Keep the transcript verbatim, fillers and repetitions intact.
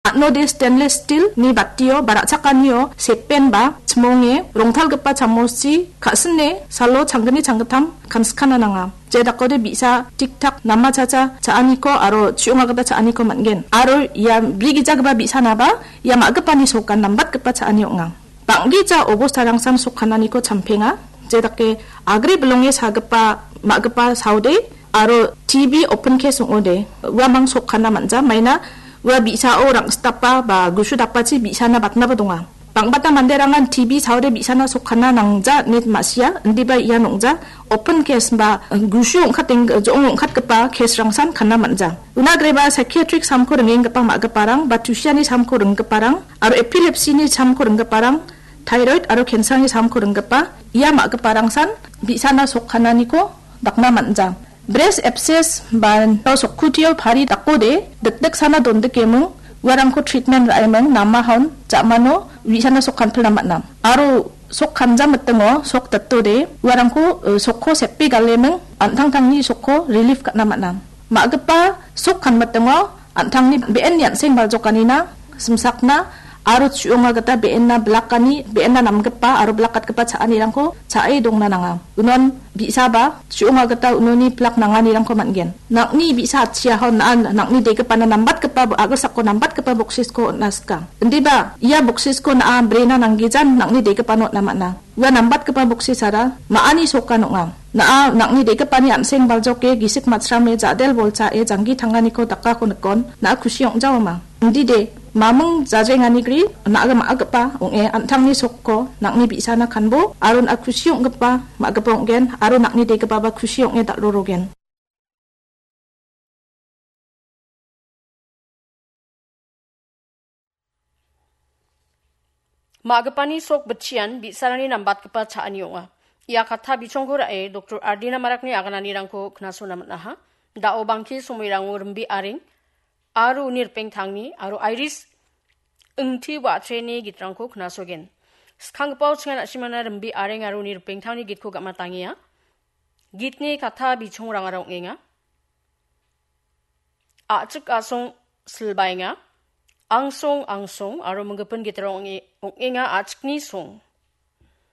Atnode stainless steel-ni batio ba ra·chakanio sepen ba chimonge rongtalgipa chamoschi ka·sine salo changgni changgittam kanskana nanga. Je dakode bi·sa tik-tak nama chacha cha·aniko aro chi·onga gita cha·aniko man·gen. Aro ia brigijagipa bi·sanaba ia ma·gipani sokan nambatgipa cha·ani ong·a. Bang·gija obostarangsan sokkananiko champenga. Je dake agre bilonge sagipa ma·gipa saode aro T B open case ong·ode uamang sokkana man·ja. Maina ua bi·sao rang·sitapa ba gusu dapachi bi·sana batnaba donga. Bang·bata manderangan T B saode bi·sana sokkana nangja ine ma·sia, indiba ia nong·ja open case ba gusu ong·kateng-, jo·ong ong·katgipa case-rangsan kana man·ja. Una agreba psychiatric samko ringenggipa ma·giparang ba tusiani samko ringgiparang aro epilepsy-ni samko ringgiparang, thyroid aro cancer-ni samko ringgipa ia ma·giparangsan bi·sana sokkananiko dakna man·ja. Breast abscess ba sokkutio pari dakode dikdiksana dondikeming uarangko treatment ra·eming, namahaon ja·mano bi·sana sokkanpilna man·a. Aro sokkanjam mitingo sok datode uarangko, eh, sokko sepe galeming an·tangtangni sokko relief ka·na man·a. Ma·gipa sokkan mitingo an·tangni be·en an·seng baljokanina simsakna aro chu·onga gita be·enna bilakani, be·enna namgipa aro bilakatgipa cha·anirangko cha·e dongna nanga. Unon bi·saba chu·onga gita unoni bilak nanganirangko man·gen. Nang·ni bi·sa atchiaho na-, nang·ni degipana nambatgipa bo-, a·gilsako nambatgipa boksisko on·na sika. Indiba ia boksisko na·a brena nanggijan nang·ni degipano on·na man·a. Ua nambatgipa boksisara ma·ani sokan ong·a. Na·a nang·ni degipani an·seng baljoke gisik matsrame ja·del bolchae janggi tanganiko dakako nikon na·a kusi ong·jaoma. Indide, maming jajenganigri na·a ma·gipa ong·e an·tangni sokko nang·ni bi·sana kanbo aro na·a kusi ong·gipa ma·gipa ong·gen aro nang·ni degipaba kusi ong·e dal·rorogen. Ma·gipani sok bitchian bi·sarangni nambatgipa cha·ani ong·a. Ia katta bichongko ra·e Doktor Ardina Marakni agananirangko knasona man·aha. Da·o bangke somoirango Rimbi Areng aro uni ripengtangni aro Iris Ingti wa·acheni gitrangko knasogen. Skanggipa chingan a·simana Rimbi Areng aro uni ripengtangni gitko gam·atangenga. Gitni katta bichongrangara ong·enga. A·chik a·song silbaenga. Angsong angsong aro minggipin gitarang ong·e-, ong·enga a·chikni song.